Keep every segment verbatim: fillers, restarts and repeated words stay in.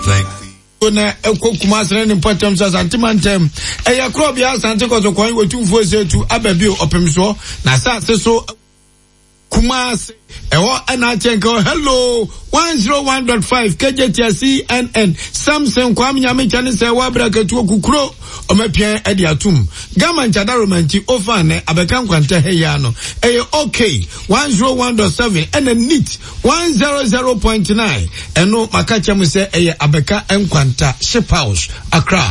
Thank the Na ɛkɔ Kumase ne ne mpɔtam sɛ Asante mantam ɛyɛ korɔbea Asante Kɔtɔkwan wɔtumfoɔ sɛ tu aba bio ɔpem soɔ na asase so Kumase ɛhɔ ɛna akyɛ nka hello one oh one point five K J T C N N Samson Kwame Nyamekyɛ ne sɛ wɔabrɛ katuo kukuro ɔmapia ɛde atom Gama nkyada romanti ofa ne abɛka nkwantɛ ha yi ano ɛyɛ okay one oh one point seven ɛna neat one hundred point nine. Ɛno maka kyɛ mu sɛ ɛyɛ Abɛka Nkwanta Ship House, Accra,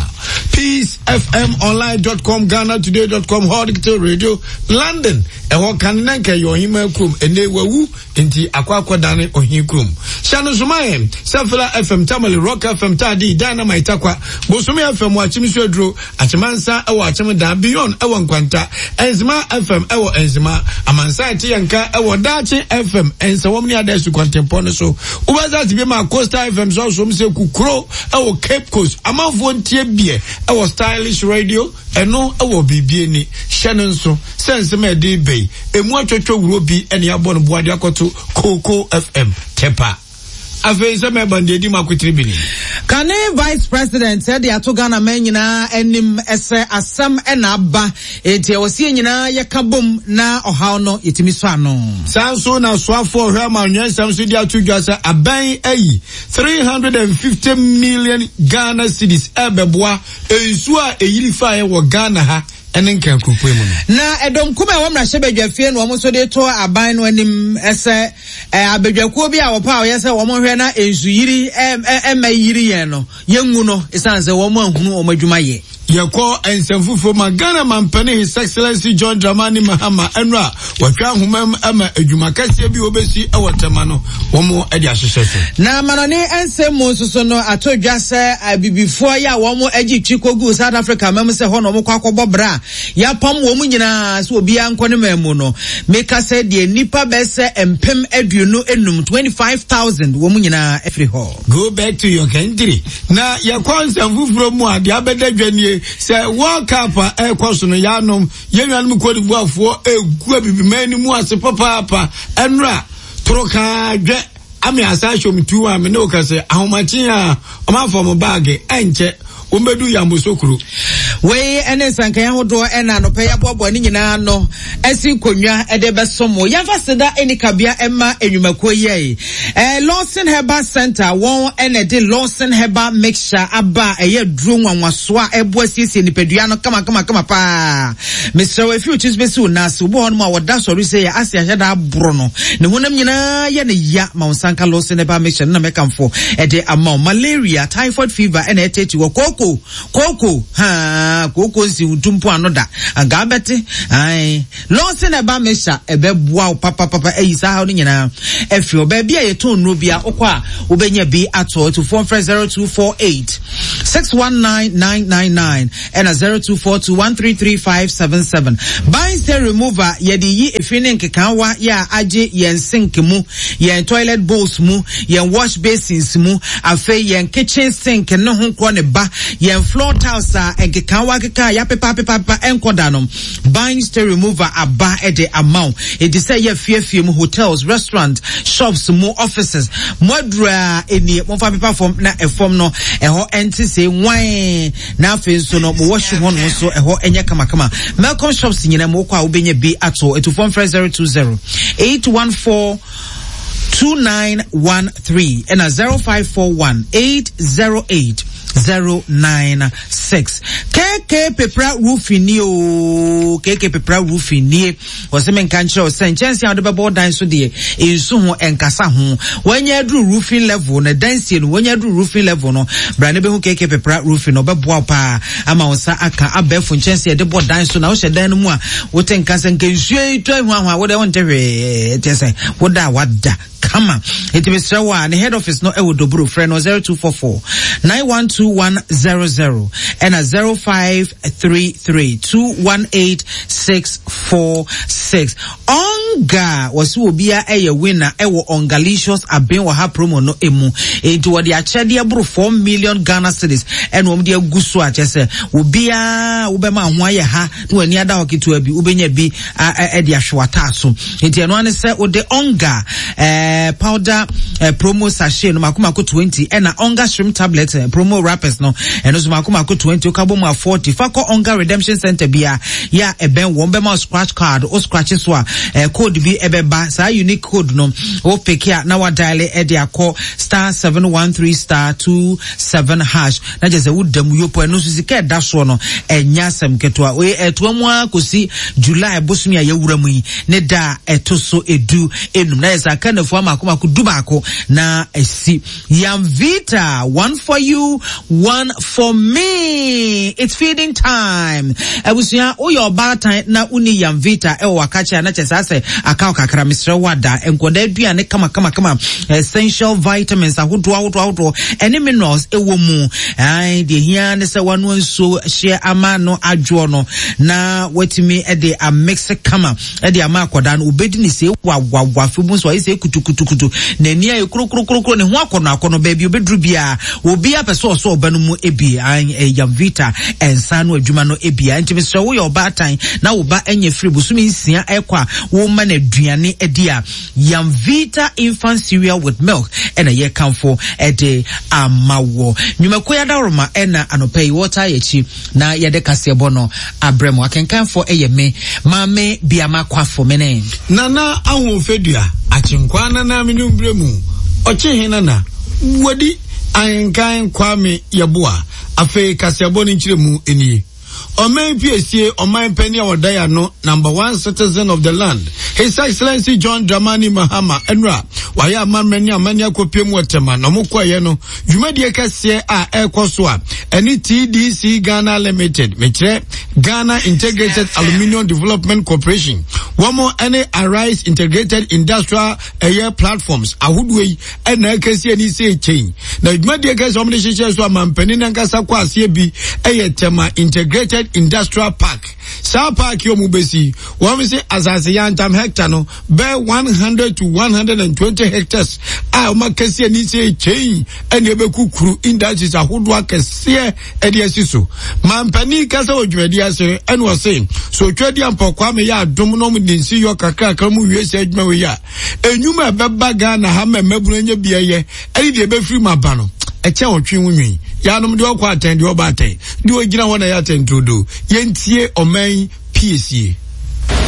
Peace F M online dot com, Ghana Today dot com, Hot Digital Radio London. Ɛhɔ kan na nka ɛyɛ ɔhema kurom, ɛnɛ wawu nti akɔ akɔdane ɔhen kurom. Hyɛ no soma yɛn sɛ Fila F M Tamale, Rock F M Taadi, Dynamite Takwa, Bosome F M wɔ Akyem so aduro Akyemansa ɛwɔ Akyem Dan, Beyond ɛwɔ Nkwanta, Enzima F M ɛwɔ Enzima, Amansa ɛte yɛn nka ɛwɔ Daakye F M Ɛnsɛwɔm ne ada asukɔntempɔn no so. Wobɛsa te bi ma Coastal F M so asom sɛ kukuro ɛwɔ Cape Coast. Amanfoɔ ntie biɛ ɛwɔ Stylish Radio. Ɛno ɛwɔ biribi ani hyɛ no nso sɛ nsɛm a ɛde bɛyi emu atwatwa wuro bi ɛne abɔ no boade akɔto Coco F M Tepa. Afei nsɛm ɛba deɛ di mu akotiri bi ni. Kane vice president ɛde ato Ghana man nyinaa anim ɛsɛ asɛm ɛna aba, enti ɛwɔ sɛ yɛn nyinaa yɛka bom na ɔhaw no yɛtumi sɔ ano. Saa nso na soafoɔ ɔhwɛ ama nwɛnsɛm so de ato dwa sɛ aban ayi three hundred and fifty million Ghana cedis ɛbɛboa nsuo a ɛyiri faeɛ wɔ Ghana ha ɛne nkankuropɔ mu no. Na ɛdɔm kum a ɛwɔ mmarahyɛbadwafie no, wɔn nso de to aban no anim ɛsɛ ɛ abadwakuo bi a wɔpɛ a wɔyɛ sɛ wɔn hwɛ na nsuyiri ɛ ɛ ɛmɛ yiri yɛn no yɛngu no, ɛsiane sɛ wɔn ahunu wɔn adwuma yɛ. Yɛkɔ nsɛm foforɔ ma Ghana mampani, His Excellency John Dramani Mahama, ɛno a wɔtwa ahoma mu ama adwuma kɛseɛ bi wɔbɛsi ɛwɔ Tɛma no wɔn de ahyehyɛ so. Na amanɔne nsɛm mu nso so no, ato dwa sɛ abibifoɔ yi a wɔn agye twi kɔgu South Africa mam sɛ hɔ na wɔn kɔ akɔbɔ bra a yɛapam wɔn nyinaa sɛ obiara nkɔ ne man mu no, meka sɛ deɛ nnipa bɛsɛ mpem aduonu enum, twenty five thousand, wɔn nyinaa afiri hɔ. Go back to your country. Na yɛkɔ nsɛm foforɔ mu a, deɛ abɛda dwa nie sɛ World Cup a ɛrekɔ so no, yɛanom yɛn nuanom Cote d'Ivoirefoɔ egu abibiman no mu ase papaapa. Ɛnora toro kaa dwɛ ame asa ahyɛ tu a me ne wo kɛsɛ ahomakye a ɔmanfo mo baage ɛnkyɛ wɔn bɛdu Yamoussoukro. Wei ne nsankan ahodoɔ ɛna anɔpɛ yɛaboaboa ne nyinaa no asi nkonnwa ɛde bɛso mo. Yɛmfa seda ɛni kabea ɛma enwumakuo yi ɛɛ Lawson Herbal Center. Wɔn ɛna ɛde Lawson Herbal Mixture aba a ɛyɛ duro nwanwaso a ɛboa siesie nipadua no kamakamakama paa. Mesrɛ wo, efi otwi so bɛsi wo nan ase, obi wɔ hɔnom a wɔda sɔre sɛ yɛ ase ahyɛ da aboro no ne honam nyinaa yɛ ne ya, ma wo nsanka Lawson Herbal Mixture no na mɛkamfo ɛde ama wo. Malaria, typhoid fever ɛna ɛtɛti wɔ kooko kooko haa kooko nsi ntumpo ano da anka abɛte ae, Lawson Herbal Mixture ɛbɛboa wo papapapa ayi saa haw no nyinaa afiri hɔ. Baabi a yɛtɔn nnuro bi a wokɔ a wobɛnya bi ato. Atufoɔ mfrɛ zero two four eight six one nine nine nine nine ɛna zero two four two one three three five seven seven. Ban remover, yɛde yi efi ne nkekaawa yɛ a agye yɛn sink mu, yɛn toilet bowls mu, yɛn wash basins mu, afei yɛn kitchen sink ne ho korɔ ne ba, yɛn floor tiles a nkekaawa keka a yɛapepa apepa apepa ɛnkɔ da no. Ban stain remover aba ɛde ama wo. Edi sɛ yɛ fiefie mu, hotels, restaurant, shops mu, offices mo aduru a enie, momfa pepa fam na ɛfam no ɛhɔ ɛnte sɛ nwan, na afei nso no mo washroom hɔ nom nso ɛhɔ ɛnyɛ kamakama. Melcom shops nyinaa mu wokɔ a wobɛnya bi ato. Etufoɔ mfrɛ zero two zero eight one four two nine one three ɛna zero five four one eight zero eight zero nine six. K K Pepra Roofing nie o. K K Pepra Roofing nie. Wɔsɛ menka nkyerɛ wo sɛ nkyɛnse a wode bɛbɔ dan so deɛ, nsu ho ɛnkasa ho. Wɔanya aduru roofing level no, dansie no wɔanya aduru roofing level no, bra ne bɛhu K K Pepra Roofing no, ɔbɛboa wo paa ama wo nsa aka abɛɛfo nkyɛnse yɛde bɔ dan so. Na wohyɛ dan no mu a, wote nka sɛ nka nsuo yi tɔ ahuahua, wode wonte hwee, kyɛ sɛ woda a wada kama. Nti mesrɛ wo a ne head office no ɛwɔ Doburo, frɛ no zero two four four nine one two two one zero zero ɛna zero five three three two one eight six four six. Ɔnga wɔsi obia ɛyɛ winner ɛwɔ Ongalicious aben wɔ ha promo no emu. Enti wɔde akyɛdeɛ boro four million Ghana cedis ɛna wɔn de agu so a kyɛ sɛ obiara wobɛma ho ayɛ ha na wɔn ani ada hɔ ketewa bi wobɛnya bi ɛde ahwɛ w'ataa so. Enti ɛno ane sɛ wode Onga ɛɛ powder ɛɛ promo sachet no mako mako twenty ɛna Onga shrimp tablet eh, promo wrappers no ɛno nso mako mako twenty woka bɔ mu a forty. Fa kɔ Onga redemption center bia yɛ a ɛbɛn wɔn bɛma scratch card o scratch so a ɛɛ code bi ɛbɛba. Saa unique code no o pick a na wa dial ɛde akɔ star seven one three star two seven hash na kyerɛ sɛ woda mu yopo. Ɛno nso sika ɛda soɔ no ɛnya asɛm ketewa. Oye ɛtoa mu ara kɔsi July bosomi a yɛwura mu yi ne da a ɛto so edu enum na yɛ sɛ aka nafua mako mako du baako na esi. Yamvita, one for you, one for me. It's feeding time. Abusua, woyɛ ɔbaatan na woni Yamvita ɛwɔ wakakyɛ a na kyerɛ sɛ asɛ aka wo kakra. Mesrɛ wo ada nkɔda aduane kama kama kama, essential vitamins ahodoɔ ahodoɔ ahodoɔ ɛne minerals ɛwɔ mu. Ai, deɛ hia ne sɛ wanoa nsuo hyɛ ama no adwoɔ no na watumi ɛde amix kama ɛde ama akɔda no obɛdi ne sɛ wawawa fe mu nso ayɛ sɛ kutukutukutu n'ani ayɛ kurokurokurokuro ne ho akɔnɔ akɔnɔ baabi obɛduru biara obi apɛ sɛ ɔsɔ ɔba no mu ebi. Yamvita ɛnsa no adwuma no ebia. Nti mesrɛ woyɛ ɔbaatan na wo ba anya firi bosome nsia ɛkɔ a woma no aduane adi a, Yamvita infant cereal with milk ɛna yɛkamfo ɛde ama wɔ nnwumakuo yi adaworoma. Ɛna anɔpa yi wɔta yɛ akyi na yɛde kaseɛbɔ no abrɛ mu. Akenkanfoɔ ɛyɛ me Maame Biama Kwafo mene Nana Ahofedua Akyenkwa Nana Menumbrɛ mu ɔkye he nana wadi ahenkan Kwame Yɛboa. Afei kaseɛbɔ no nkyerɛ mu nie. Ɔman piesie ɔman panyin a ɔda ya no, number one citizen of the land, His Excellency John Dramani Mahama, ɛnura wayɛ amammerɛ ne amanne akɔpie mu ɔtɛma na ɔmo kɔɛyɛ no dwumadie kɛseɛ a ɛrekɔ so a ɛne T D C Ghana Limited, mekyerɛ Ghana Integrated Aluminium Development Corporation, wɔn ɛne Arise Integrated Industrial ɛyɛ platforms ahodoɔ yi ɛna ɛkɛseɛ ani sɛ kyɛn na dwumadie kɛseɛ wɔn de hyehyɛ so amampanin nankasa kɔ aseɛ bi ɛyɛ Tema Integrated Industrial Park. Saa park yi wɔn bɛsi wɔn sɛ asase yantam hectare no bɛɛ one hundred to one hundred and twenty hectares a wɔn akɛseɛ ani sɛ kyɛn ɛna ɛbɛkukuru industries ahodoɔ akɛseɛ ɛde asi so. Mampanin kasa wɔ dwumadie ase ɛna ɔse so otwa di ampɔkwa mi yɛ adom na wɔn de nsi yɔ kakrakra mu wie sɛ adwuma wei a enyuma ɛbɛba Ghana ha ma mmabunu anya bi ɛyɛ ɛne deɛ ɛbɛfiri mu aba no ɛkyɛn ɔtwe ho nwi yanom deɛ ɔkɔ atɛn deɛ ɔba atɛn deɛ ɔgyina hɔ na ɛyɛ atɛn turodo. Yɛntie ɔman piesie.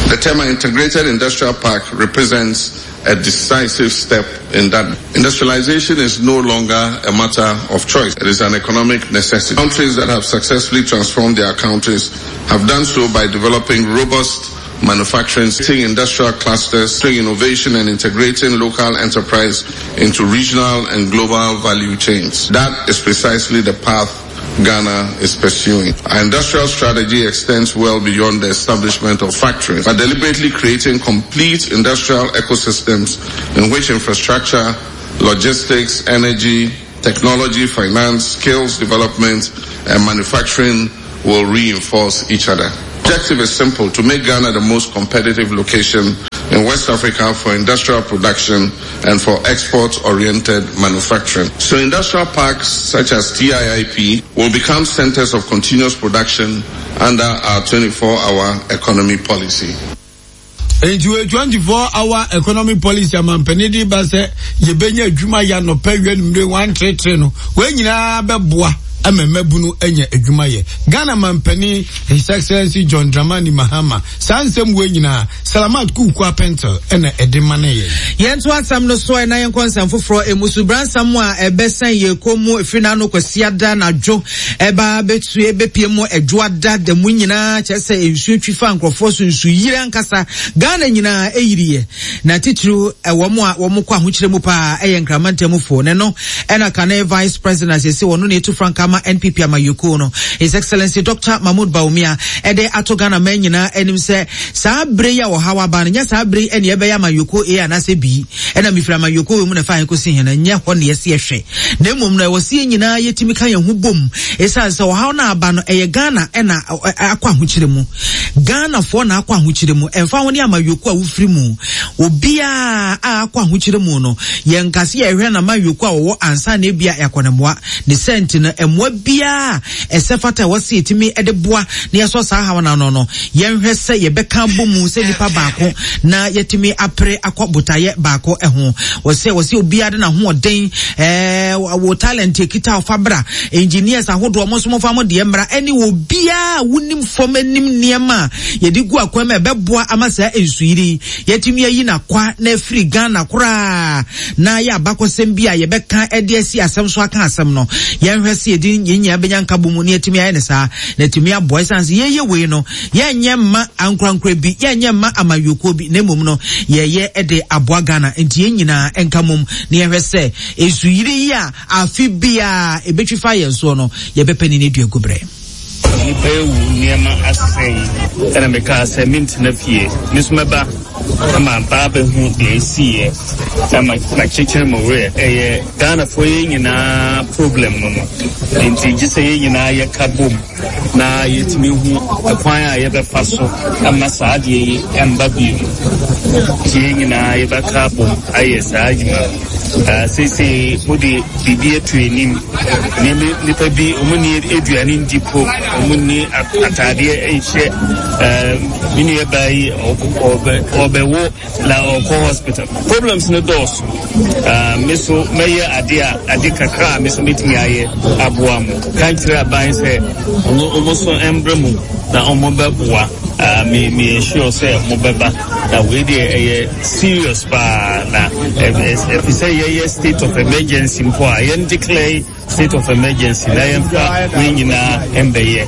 The Tema Integrated Industrial Park represents a decisive step in that. Industrialization is no longer a matter of choice. It is an economic necessity. Countries that have successfully transformed their countries have done so by developing robust manufacturing, industrial clusters, innovation and integrating local enterprise into regional and global value chains. That is precisely the path Ghana is pursuing. Our industrial strategy extends well beyond the establishment of factories, by deliberately creating complete industrial ecosystems in which infrastructure, logistics, energy, technology, finance, skills development, and manufacturing will reinforce each other. Objective is simple: to make Ghana the most competitive location in West Africa for industrial production and for export-oriented manufacturing. So industrial parks such as T I I P will become centers of continuous production under our twenty-four-hour economy policy. Nti wɔ twenty four hour economy policy amampanin de ba sɛ yɛbɛnya adwuma yɛ anɔpɛ wia numere one three no wɔn nyinaa bɛboa ama mmabunu anya adwuma yɛ. Ghana mampanin, His Excellency John Dramani Mahama, saa nsɛm wɔ nyinaa Salamat Kuku Apɛntel ɛna ɛde ma ne yɛ. Yɛnto asɛm no so ɛna yɛnkɔ nsɛm foforɔ emu. So bransam a ɛbɛsɛn yɛ kɔn mu efiri n'ano Kwasiada n'adwo ɛba bɛtue bɛpie mu Ɛdwoada da mu nyinaa kyerɛ sɛ nsuo twi fa nkurɔfoɔ so, nsu yiri ankasa. Ghana nyinaa ɛyiriɛ na titiriw ɛwɔ mu a wɔn kɔ ahokyerɛ mu paa ɛyɛ Nkramantamufoɔ ne no ɛna kane vice president asese wɔn no na etu frankaa. ama N P P amayɔkuo no, His Excellency Doctor Mahmoud Bawumia, ɛde ato Ghana man nyinaa anim sɛ saa bere yi a wɔhaw aba no, nyɛ saa bere yi ɛne ɛbɛyɛ amayɔkuo A anaasɛ B, ɛna mefiri amayɔkuo wɔ mu na ɛfa kɔsi hɛn, nyɛ hɔ ne yɛsi ɛhwɛ, na mmom no ɛwɔ sɛ yɛn nyinaa yɛtumi ka yɛn ho bom, ɛsiane sɛ ɔhaw no aba no, ɛyɛ Ghana ɛna akɔ ahokyere mu, Ghanafoɔ na akɔ ahokyere mu. Ɛmfa ho ne amayɔkuo a wofiri mu, obiara a akɔ ahokyere mu no, yɛnkase yɛhwɛ na amayɔkuo a wɔwɔ ansa na ebia yɛakɔ ne mmoa ne sɛnti no. Mmoa biara ɛsɛ fata ɛwɔ sɛ yɛtumi de boa na yɛsɔ saa haw no ano no, yɛnhwɛ sɛ yɛbɛka bɔ mu sɛ nipa baako na yɛtumi apere akɔ botaeɛ baako ho. Wɔsɛ wɔsɛ obiara de n'ahoɔden, ɛɛ wɔ talent ekita ɔfa bra, engineers ahodoɔ ɔmo nso mofa mo deɛ mmra, ɛne obiara a wonim fam anim nneɛma a yɛde gu akwan mu a ɛbɛboa ama saa nsuyiri yɛtumi ayi n'akwa na afiri Ghana koraa na yɛ abakɔsɛm bi a yɛbɛka ɛde asi asɛm so aka asɛm no. Yɛnhwɛ sɛ yɛde yɛn nyinaa bɛnya nka bɔ mu na yɛtumi ayɛ ne saa na yɛtumi aboa, ɛsiane sɛ yɛyɛ wei no, yɛnyɛ mma ankorankora bi, yɛnyɛ mma amayɔkuo bi, na mmom no yɛyɛ de aboa Ghana. Nti yɛn nyinaa nka mom na yɛhwɛ sɛ nsuyiri yi a afe biara ɛbɛtwi fa yɛn soɔ no, yɛbɛpɛ ne ne dua gu berɛ. Nipa ewu, nneɛma asɛe, ɛna mekaa sɛ mentena fie, me nso mɛba ama baa bɛhu deɛ ɛsiiɛ na makyekyere mo werɛ. Ɛyɛ Ghanafoɔ yɛn nyinaa problem no no nti gye sɛ yɛn nyinaa yɛka bom na yɛtumi hu ɛkwan a yɛbɛfa so ama saa adeɛ yi ɛmba bio. Nti yɛn nyinaa yɛbɛka bom ayɛ saa adwuma no. Seesei mode biribi ato anim. Nneɛma nipa bi ɔmo ni aduane ndi po, ɔmo ni ataadeɛ nhyɛ. Me nua baa yi ɔbɛwo na ɔkɔ hospital. Problems no dɔɔso. Me so mɛyɛ ade a ade kakra a me so metumi ayɛ aboa mo. Ka nkyerɛ aban sɛ ɔmo so mbrɛ mu na ɔmo bɛboa. Me me sure sɛ mo bɛba na wei deɛ ɛyɛ serious paa, na ɛfi sɛ yɛyɛ state of emergency mpo a, yɛn declare state of emergency na yɛmfa wei nyinaa mbɛyɛ.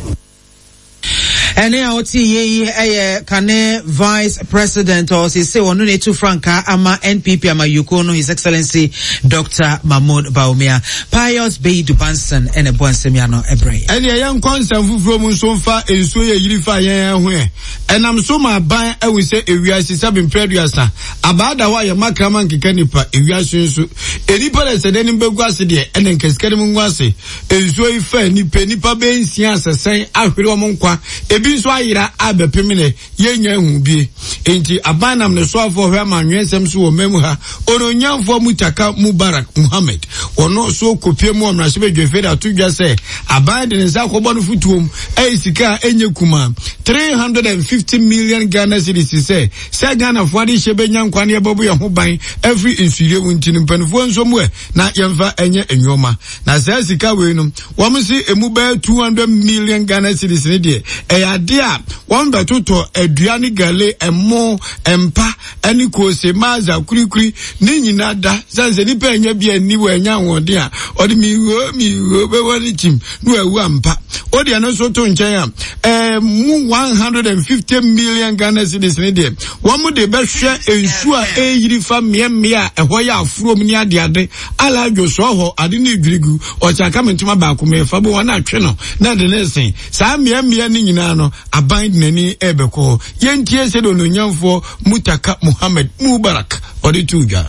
Ɛne a wote yie yi ɛyɛ kane Vice President ɔsese ɔno na etu frankaa ama N P P amayuko no, His Excellency Doctor Mahmoud Bawumia. Pius Beidu Banson ɛna ɛbɔ nsɛm ya no ɛbrɛ. Ɛne ɛyɛ nkɔ nsɛm foforɔ mu nso mfa nsuo yɛ yiri fa yɛn ho ɛ ɛnam so ma aban ahu sɛ ewiase sɛ bempere aduasa abaada hɔ a yɛma krama nkeka nipa. Ewiase nso enipa dɛ sɛ n'anim bɛgu ase deɛ, ɛna nkasika no mu ngu ase. Nsuo yi fa nipa nipa bɛyɛ nsia asɛsɛn ahwere wɔn nkwa, ebi nso ayera abɛpem ne yɛnya ehu bie. Nti aban nam ne soafoɔ hwɛ ama anwensɛm so wɔ mɛmu ha, ononyamfoɔ Mutaka Mubarak Muhammed, ɔno so kopie mu ɔmrahyɛbadwafie de ato dwa sɛ aban de ne nsa akɔbɔ no fotuom ɛyɛ sika a ɛnyɛ kuma three hundred and fifty million Ghana cedis sɛ sɛ Ghanafoɔ ade hyɛ bɛnya nkwa ne yɛbɛbɔ yɛn ho ban afiri nsuyire mu. Nti no mpanimfoɔ nso mu ɛ na yɛmfa ɛnyɛ nneɛma, na saa sika wei no, wɔn si emu bɛyɛ two hundred million Ghana cedis ne deɛ ɛyɛ adeɛ a wɔn bɛtotɔ adua ne gale, ɛmo, mpa ɛne koose, maaza, kurikuri ne nyinaa da sɛ sɛ nipa ɛnya bi ani wɔ ɛnya ahoɔden a ɔde miwuo miwuo bɛwɔ ne kyim na wawu ampa. O deɛ no nso to nkyɛn a, ɛɛ mu one hundred and fifty million Ghana cedis ne deɛ wɔn de bɛhwɛ nsuo a ɛyiri fa mmeammea a ɛhɔ yɛ afurom ne adeade aladwo sɔɔ hɔ ade ne dwirigu ɔkyɛ aka me ntoma baako mɛfa bo wɔn atwe no na ɛde ne sen saa mmeammea ne nyinaa no, aban de n'ani ɛrebɛkɔ hɔ. Yɛntie sɛdeɛ ononyamfoɔ Mutaka Muhammed Mubarak ɔde to dwa.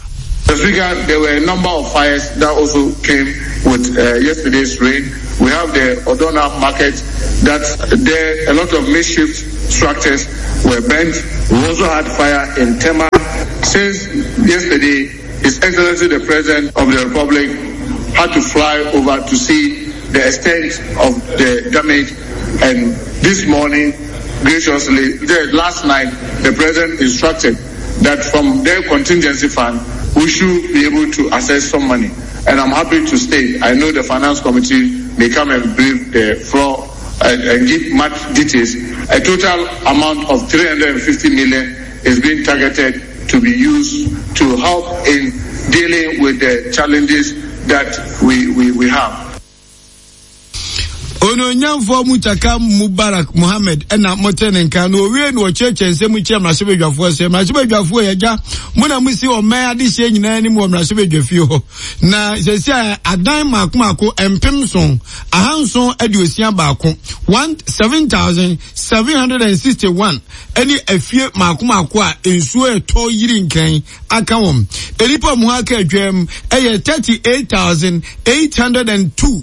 Mister Speaker, there were a number of fires that also came with uh, yesterday's rain. We have the Odona market that there a lot of makeshift structures were burnt. We also had fire in Tema. Since yesterday, His Excellency the President of the Republic had to fly over to see the extent of the damage. And this morning, graciously, the, last night, the President instructed that from their contingency fund, we should be able to access some money. And I'm happy to state, I know the Finance Committee may come and brief the floor and, and give much details. A total amount of three hundred fifty million is being targeted to be used to help in dealing with the challenges that we, we, we have. Onuonyamfoɔ Muntaka Mubarak Mohammed ɛna mote ne nka na owie na ɔkyerɛkyerɛ nsɛm kyerɛ mmarahyɛbadwafoɔ sɛ, mmarahyɛbadwafoɔ, yɛgya mo na mosi ɔman adehyeɛ nyinaa anim wɔ mmarahyɛbadwafie hɔ, na sɛsi a adan mako mako mpem nson ahanson aduosia baako, one seven thousand seven hundred and sixty one, ɛne afie mako mako a nsuo ɛtɔ yiri nkran aka wɔn. Nnipa mu aka adwam ɛyɛ thirty eight thousand eight hundred and two,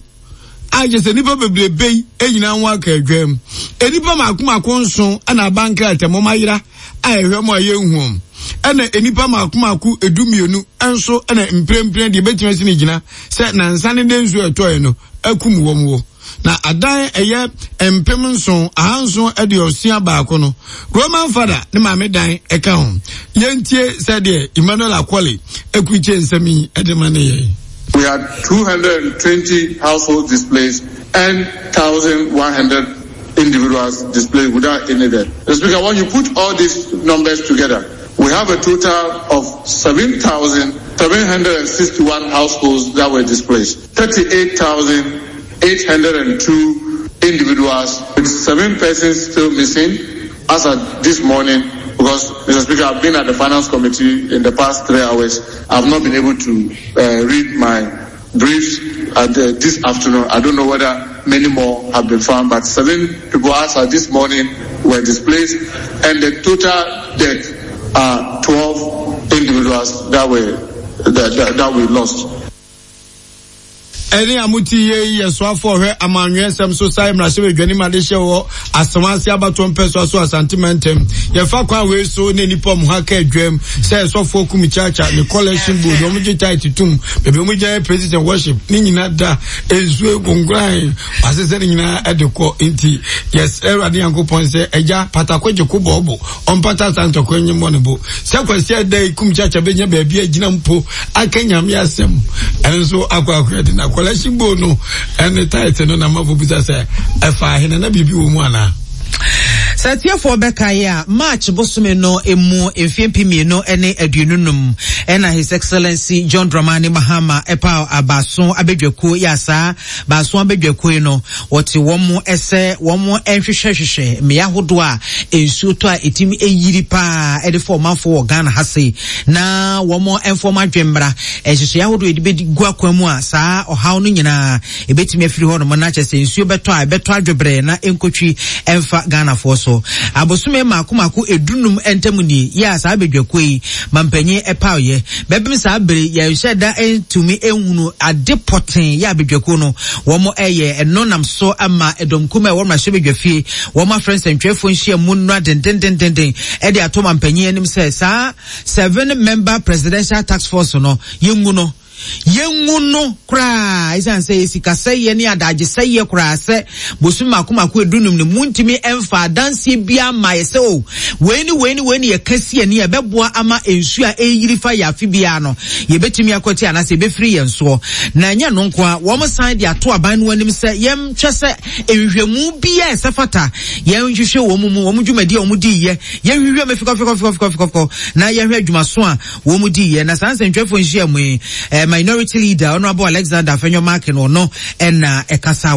a kyerɛ sɛ nnipa bebrebe yi nyinaa ho aka adwam. Nnipa mako mako nson ɛna aba nkrataa mu ayera a ɛhwɛ mu a yɛnhu wɔn, ɛna nnipa mako mako edu mmienu nso ɛna mprempren deɛ ebɛtumi asi ne gyina sɛ nansa ne de nsuo ɛtɔɛ no akum wɔn wɔ. Na adan ɛyɛ mpem nson ahanson aduosia baako no, Roman Fada ne maame dan ɛka ho. Yɛntie sɛdeɛ Emmanuel Akwale ekurukyɛ nsɛm yi ɛde ma ne yɛn. We had two hundred twenty households displaced and one thousand one hundred individuals displaced without any death. Mister Speaker, when you put all these numbers together, we have a total of seven thousand seven hundred sixty-one households that were displaced, thirty-eight thousand eight hundred two individuals, with seven persons still missing as of this morning. Because, Mister Speaker, I've been at the Finance Committee in the past three hours. I've not been able to uh, read my briefs at uh, this afternoon. I don't know whether many more have been found, but seven people as of this morning were displaced, and the total death are twelve individuals that were that, that, that we lost. Ɛne a mote yie yi yɛ soafoɔ ɔhwɛ amanweɛsɛm so sae mmarahyɛbadwani ma de hyɛ wɔ Asawase abatoɔ mpɛsoa so, Asante mantam. Yɛfa kwan wei so ne nnipa ɔmo ha ka adwam sɛ ɛsɔfoɔ Kumchacha ne collection board, ɔmo gye tithe tum, baabi ɔmo gya yɛ praise and worship ne nyina da nsuo nkonkoran wasesɛ ne nyinaa ɛde kɔ. Nti yɛsrɛ Awurade Nyankopɔn sɛ agya patako gye ko bɔɔbo ɔmpata sa ntɔkwa nye mmɔ ne bo sɛ Kwasi ada yi Kumchacha bɛnya baabi agyina mpo aka Nyame asɛm. Ɛno nso akɔ akɔ ɛde na collection board no ɛne tithe no na mafo bisa sɛ ɛfa ahene na biribi wɔ mu anaa? Sɛ atiefoɔ bɛkaeɛ a, March bosome no emu mfeɛ mpem mmienu ne aduonu num ɛna His Excellency John Dramani Mahama ɛpa abaaso abadwakuo yɛ asaa baaso abadwakuo yi no, wɔte wɔn mo ɛsɛ wɔn mo nhwehwɛhwehwɛ mmea ahodoɔ a nsuo tɔ a ɛtumi ɛyiri paa ɛde fɔ ɔmanfoɔ wɔ Ghana ha sei, na wɔn mo mfɔm adwemmra nhyehyɛeɛ ahodoɔ yɛde bɛdi gu akwan mu a saa ɔhaw no nyinaa ɛbɛtumi afiri hɔ nom, na kyerɛ sɛ nsuo bɛtɔ a ɛbɛtɔ adwobrɛ na ɛnkɔtwi ɛmfa Ghanafoɔ so. Abosome mako mako edunum ntam nie yɛ a saa abadwakuo yi mampanyin ɛpaoyɛ bɛbem saa bere yɛnhyɛ da ntumi ehunu ade pɔten yɛ abadwakuo no wɔn ɛyɛ. Ɛno nam so ama ɛdɔmkum a ɛwɔ mmarahyɛ badwafie wɔn afrɛ nsɛntwerɛfoɔ nhyia mu nnura dendendendenden ɛde ato mampanyin anim sɛ saa seven member presidential task force no, yɛngu no, yɛngu no koraa, ɛsiane sɛ yɛ sikasɛyɛ ne adagyesɛyɛ koraa sɛ bosom mako mako edunum no muntumi ɛmfa adanseɛ biara ma yɛ sɛ o wei ne wei ne wei ne yɛka si ani a ɛbɛboa ama nsuo a ɛyiri fa yɛ afe biara no yɛbɛtumi akɔti anaasɛ yɛbɛfiri yɛn soɔ. Na ɛnyɛ no nko a, wɔn san de ato aban no anim sɛ yɛmhwɛ sɛ nhwehwɛmu biara ɛsɛ fata yɛnhwehwɛ wɔn mu wɔn dwumadi a wɔn di yɛ, yɛnhwehwɛ mu fikɔfikɔfikɔfikɔfikɔ na yɛhwɛ adwumaso a wɔn mu di yɛ. Na saa nsɛntwerɛfoɔ nhyia mu yi, eh, Minority Leader, Honourable Alexander Afenyo Markin, ɔno ɛna ɛkasa.